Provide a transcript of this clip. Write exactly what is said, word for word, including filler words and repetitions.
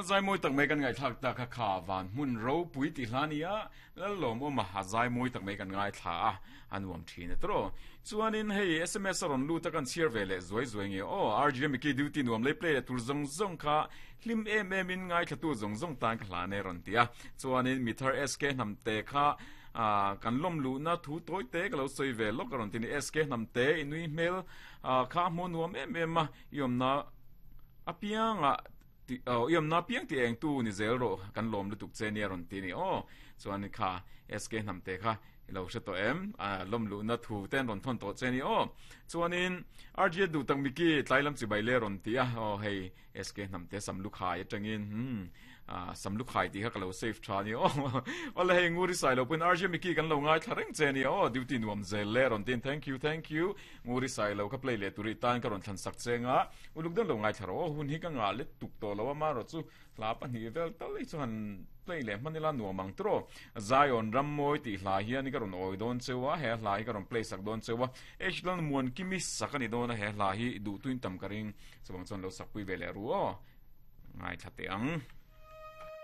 Zai mawi tak mai kan ngaihthlak ta kha kha van hmun ropui tih hla nia lalawm awm a zai mawi tak mai kan ngaithla a a nuam thin a tawh chuanin hei S M S a rawn lut a, kan chhiar ve leh zuai zuai nge aw. R G Miki duty nuam lei play tur zawng zawng kha hlim em em in ngaithla tu zawng zawng tan ka hla ne rawn tia. Chuanin mithar S K Hnamte kha a kan lom lu na thu toy te ka lo soi ve lok ron tini. S K Hnamte inui hmel kha mu nuam em em a, iom na apianga ti iom na piang ti eng tu ni zel ro, kan lom lutuk che nia ron ti ni o. Chuan kha S K Hnamte kha lo hre to em a lom lu na thu ten ron thon to che ni o. Chuanin R G du tang miki tlailam chi bai le ron ti a o. Hei S K Hnamte sam lu khai atangin hmm a sam lu khai ti kha ka lo save tha ni o. Ole hei nguri sai lo pun R G Miki kan lo ngai thlareng che ni o, duty nuam zel le ron tin. Thank you, thank you. Nguri sai lo ka play le turi tan ka ron thlan sak chenga uluk den lo ngai tharo hun hi ka nga le tuk to lo ma ro chu hla pahnih vel tal hi chuan play le manila nuamang tro. Zion Rammoi ti hla hian ka ron oi don chewa, he hla hi ka ron play sak don chewa. H lan muan kimi sakani don he hla hi du tuin tam ka ring chuang chuan lo sak pui ve le ru o ngai thate ang.